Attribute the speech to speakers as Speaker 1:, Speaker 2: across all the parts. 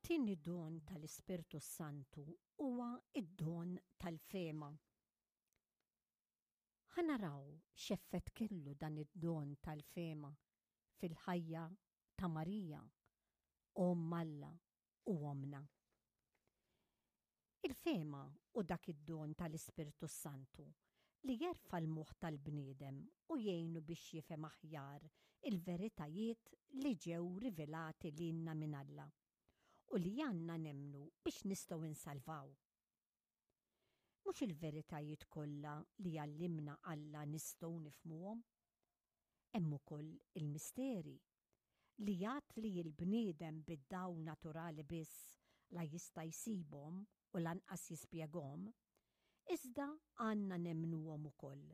Speaker 1: It-tieni don tal-Ispirtu s-Santu huwa d-don tal-fehma. Ħa naraw x'effett kellu dan id-don tal-fehma fil-ħajja ta' Marija, Omm Alla u Ommna. Il-fehma hu dak id-don tal-Ispirtu s-Santu li jerfa' l-moħħ tal-bniedem u jgħinu biex jifhem aħjar il-veritajiet li ġew rivelati lilna minn Alla u li għandna nemmnu biex nistgħu nsalvaw. Mhux il-veritajiet kollha li jgħallimna Alla nistgħu nifhmuhom. Hemm ukoll il-misteri, li għad li l-bniedem bid-dawl naturali biss la jista' jsibhom u lanqas jispjeghom, iżda għandna nemmnuhom ukoll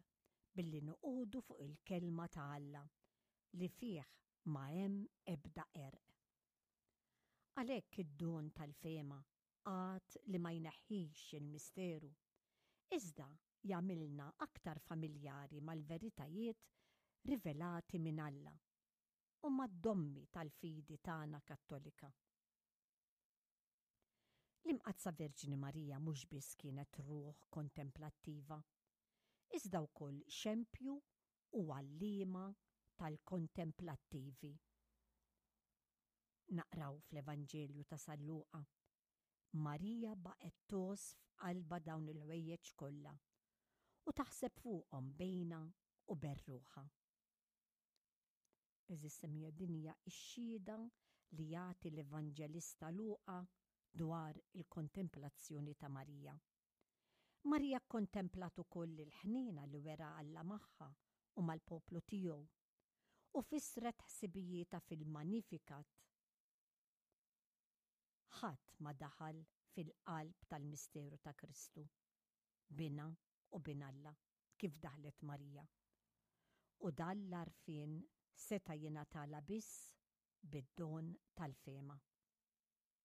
Speaker 1: billi noqogħdu fuq il-Kelma ta' Alla li fih ma hemm ebda qerq. Għalhekk id-don tal-fehma għad li ma jneħħix il-misteru, iżda jagħmilna aktar familjari mal-veritajiet rivelati minn Alla u mad-dommi tal-fidi tagħna Kattolika. L-Imqaddsa Verġni Marija mhux biss kienet ruħ kontemplattiva, iżda wkoll xempju u għalliema tal-kontemplattivi. Naqraw fl-Evanġelju ta' San Luqa, Marija baqgħet tgħożż f'qalbha dawn il-ħwejjeġ kollha u taħseb fuqhom bejnha u ben ruħha. Għeżież semmiegħa din hija x-xhieda li jagħti l-Evanġelista Luqa dwar il-kontemplazzjoni ta' Marija. Marija kkontemplat ukoll il-ħniena li wera Alla magħha u mal-poplu tiegħu u fissret ħsibijietha fil-Magnificat. Ħadd ma daħal fil-qalb tal-misteru ta' Kristu, Binha u Bin Alla, kif daħlet Marija. U dan l-għarfien seta' jingħatalha biss bid-don tal-fehma.